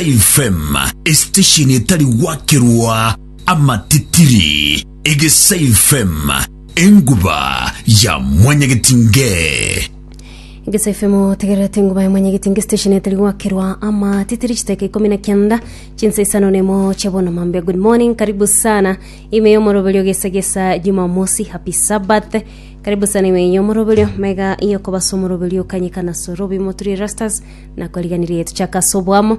FM, esitesheni etari gwakerwa amatitiri. Egesa FM, enguba ya mwanyagetinge. Egesa FM otegererete enguba ya mwanyagetinge station etari gwakerwa amatitiri chiteka ikomi na kianda chinsa isano nemo chia bono mambia good morning karibu sana ime yomoroberio gesa gesa jumamosi happy sabbath karibu sana ime yomoroberio mega yokobasa omoroberio kanyekana sorobi moturi rastas Nakoriganirie tochake ase oboamo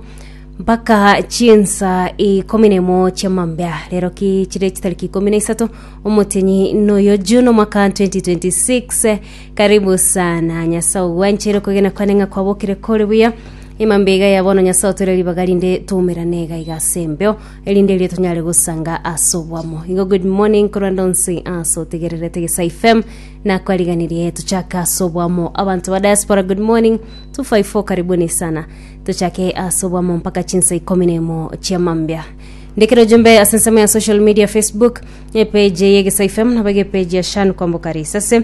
mpaka chinsa ikomi nemo chia mambia rero ki chire chitariki ikomi na isato omotienyi noyo June omwaka 2026 karibu sana nyasae ogwanchere okogena kwane ng'a kwabokire kore buya emambia iga ya bono nyasae otoire ribaga rinde toumerane iga iga ase embeo erinde erio tonyare gosanga ase oboamo igo good morning korwa ndonsi ase otegererete Gesa FM nakwariganirie tochake ase oboamo abanto ba diaspora good morning 254 karibuni sana tochake ase obwamo mpaka chinsa ikomi na emo chia mambia ndekere ujumbe ase ensemo ya social media facebook epage ye Gesa FM nabo epage ya Shan Kwamboka Risase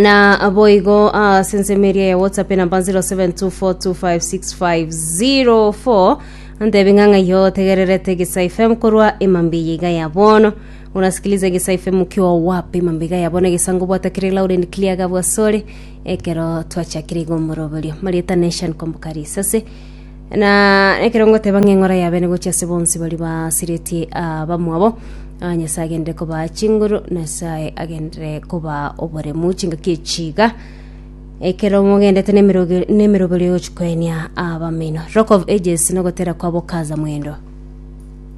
na boigo ase ensemo eria ya whatsapp enamba 0724256504 ntebi ng'a ng'ai otegererete Gesa FM korwa emambia iga ya bono unasikiliza Gesa FM ukiwa wapi mambia iga ya bono egesango bwata kere loud and clear gabwasore Ekero twachakire iga omoroberio, Marieta Nation kwamboka risase, na ekero ngoteba ng'a eng'ora yabene gochia ase bonsi baria basiretie abamwabo, ah, Nyasae agenderere kobaa chinguru, Nyasae agenderere kobaa oboremu chingaki echi iga, ekero mogendete na emeroge- na emeroberio yogochia koenia abamino. Rock of Ages nogotera kwabo Kaza Mwendo.